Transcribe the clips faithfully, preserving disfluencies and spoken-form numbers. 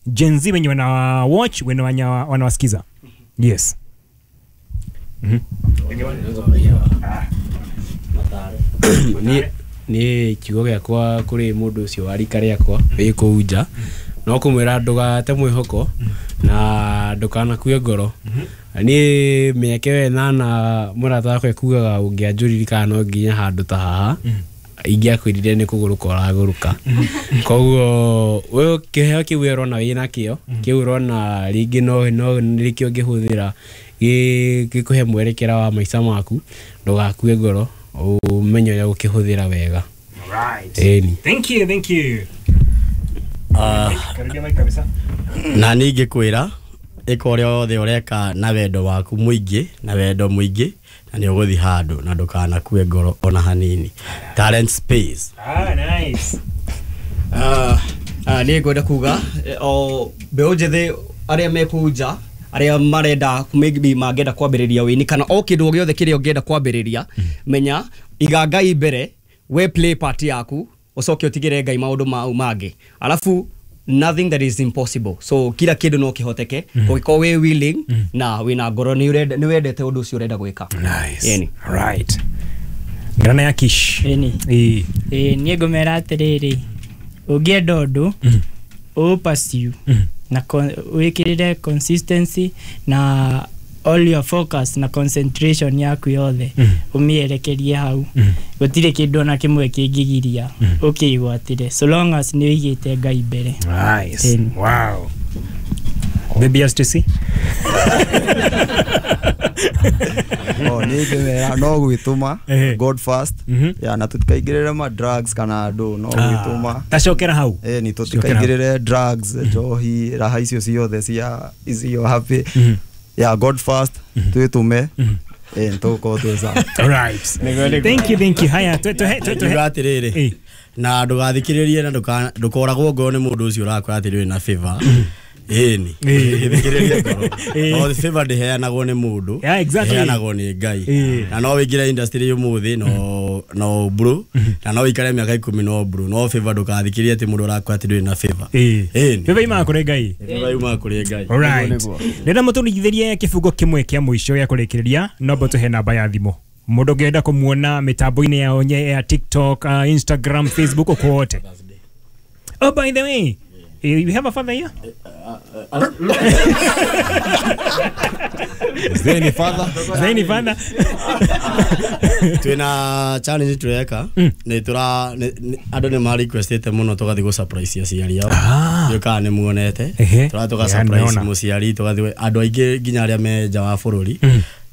Gen Z wenye wana watch, wenye wanawasikiza. Yes. Mhm. Ni ni kiugo gĩakwa kũrĩ mũndũ ũcio wa rika rĩakwa wĩ kũu nja no kũmwĩra ndũgate mwĩhoko na ndũkanakue ngoro. Niĩ mĩaka ĩyo ĩnana mũrata wakwa ekugaga ũngĩanjũririkana no nginya handũ ta haha ingĩakwĩrire nĩ kũgũrũka ũragũrũka. Koguo we kĩheo kĩu we ũrona wĩna kĩo kĩu ũrona rĩngĩ no no nĩkĩo ũngĩhũthĩra gĩkũhe mwerekera wa maica maku, ndũgakue ngoro, ũmenye ũrĩa gũkĩhũthĩra wega. Right. Ĩni. Thank you, thank you. Ah, Karibia mic kabisa. Na ningĩ kwĩra ĩka ũrĩa wothe ũreka na wendo waku mũingĩ na wendo mũingĩ na nĩ ũgũthiĩ handũ na ndũkanakue ngoro ona hanini. Talent space. Ah, nice. Ah, ah, nĩ ngwenda kuga o mbeũ njĩthĩ arĩa me kũu nja arĩa marenda maybe mangĩenda kwambĩrĩria wĩini kana o kĩndũ o gĩothe kĩrĩa ũngĩenda kwambĩrĩria, menya iga Ngai mbere, we play part yaku ũcoke ũtigĩre Ngai maũndũ mau mangĩ, alafu nothing that is impossible. So kila kĩndũ no kĩhoteke ũngĩkorwo wĩ willing na wĩna ngoro nĩ ũrenda nĩ wendete ũndũ ũcio ũrenda gwĩka. Nice. Ĩni. Right. Ngarana ya Kish. Ĩni. Ĩĩ. Ĩĩ niĩ ngũmera atĩrĩrĩ, ũngĩenda ũndũ ũ pursue na wĩkĩrĩre consistency na all your focus na concentration yaku yothe ũmĩerekerie hau. Gũtirĩ kĩndũ ona kĩmwe kĩngĩgiria ũkĩgwatĩre so long as nĩ ũigĩte Ngai mbere. Nice. Ĩni. Wow. Baby S T C. Oh, nĩ ngĩmera no gwĩtũma God first. Ya na tũtikaingĩrĩre ma drugs kana andũ no gwĩtũma. Tacokera hau. Eh, ni tũtikaingĩrĩre drugs, njohi, raha icio ciothe cia icio happy. Ya God first twĩtũme. Eh, tũgũkorwo twĩ sawa. All right. Thank you, thank you. Haya, twe twe twe twe atĩrĩrĩ. Na ndũgathikĩrĩrie na ndũkoragwo ngoro nĩ mũndũ ũcio ũrakwĩra atĩ ndũrĩ na favor. Ĩni. Thikĩrĩria ngoro. No favor ndĩheanagwo nĩ mũndũ. Yeah, exactly. Ĩheanagwo nĩ Ngai. Na no wĩingĩre industry ũmũthĩ no no bro. Na no wĩikare mĩaka ikũmi no bro. No favor ndũgathikĩrĩrie atĩ mũndũ ũrakwĩra atĩ ndũrĩ na favor. Ĩni. Favor yumaga kũrĩ Ngai. Favor yumaga kũrĩ Ngai. All right. Ndĩrenda mũtũrigithĩrie kĩbungo kĩmwe kĩa mũico gĩa kũrĩkĩrĩria, no mbũtũhe namba ya thimũ. Mũndũ ũngĩenda kũmuona mĩtambo-inĩ yao ya TikTok, uh, Instagram, Facebook, uko wote. Oh, by the way, you have a father here? Is there any father? Is there any father? Twina challenge tureka ni tura andu ni ma requestete muno tugathi go surprise aciari ao. Ndiũĩ kana nĩ muonete. Tura tuga surprise muciari tugathi andu aingi nginya aria me nja wa bururi.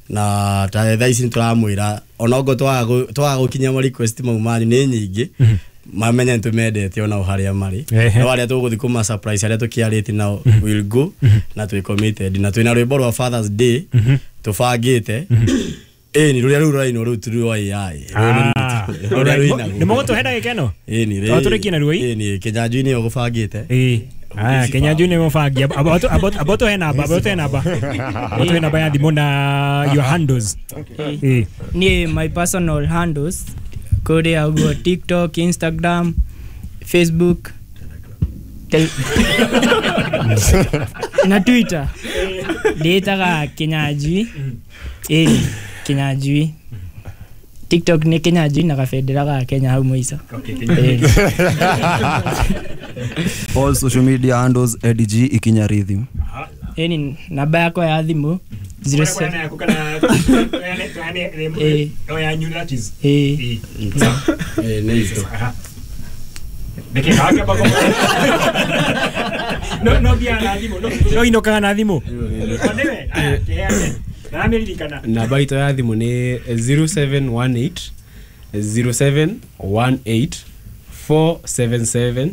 Na ta thaa ici nĩtũramwĩra onongo twaga gũkinya ma request mau manyu nĩ nyingĩ mamenye nĩtũmendete onao harĩa marĩ no arĩa tũgũthiĩ kũma surprise arĩa tũkĩarĩtie nao will go na twĩ committed na twĩna rwĩmbo rwa Father's Day tũbangĩte. Ĩni rũrĩa rũu rũrainwo rũu ti rwa A I. Rũrĩa rũinagwo. Nĩ mũgũtũhe ndagĩka ĩno? Ĩni rĩ. Tũrĩkie naruo ĩ? Ĩni Kĩnyanjui nĩyo gũbangĩte. Ĩĩ. Aya, Kĩnyanjui nĩ mũbangi. Amba ũtũhe namba, amba ũtũhe namba. Ũtũhe namba ya thimũ na your handles. Ĩĩ. Niĩ my personal handles kũrĩa ũguo TikTok, Instagram, Facebook, na Twitter. Ndĩĩtaga Kĩnyanjui. Ĩĩ, Kĩnyanjui. TikTok nĩ Kĩnyanjui na gabendera ga Kenya hau mũico. All social media handles Eddie G Ikinya Rhythm. Ĩni namba yakwa ya thimũ zero seven Eh. No no bia na thimũ. No inokaga na thimũ. Namba itũ ya thimũ nĩ zero seven one eight zero seven one eight four seven seven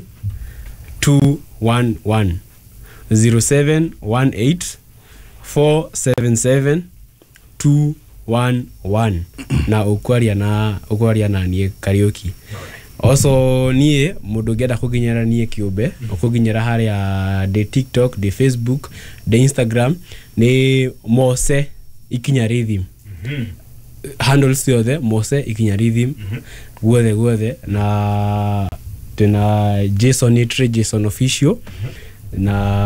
two one one zero seven one eight four seven seven two one one na ukwaria na ukwaria na niĩ Kariuki. Also niĩ mũndũ ũngĩenda kũnginyĩra niĩ kĩũmbe ũkũnginyĩra harĩa ndĩ TikTok, ndĩ Facebook, ndĩ Instagram nĩ Mose Ikinya Rhythm. Handles ciothe Mose Ikinya Rhythm guothe guothe na twĩna Jason Nitri, Jason Official na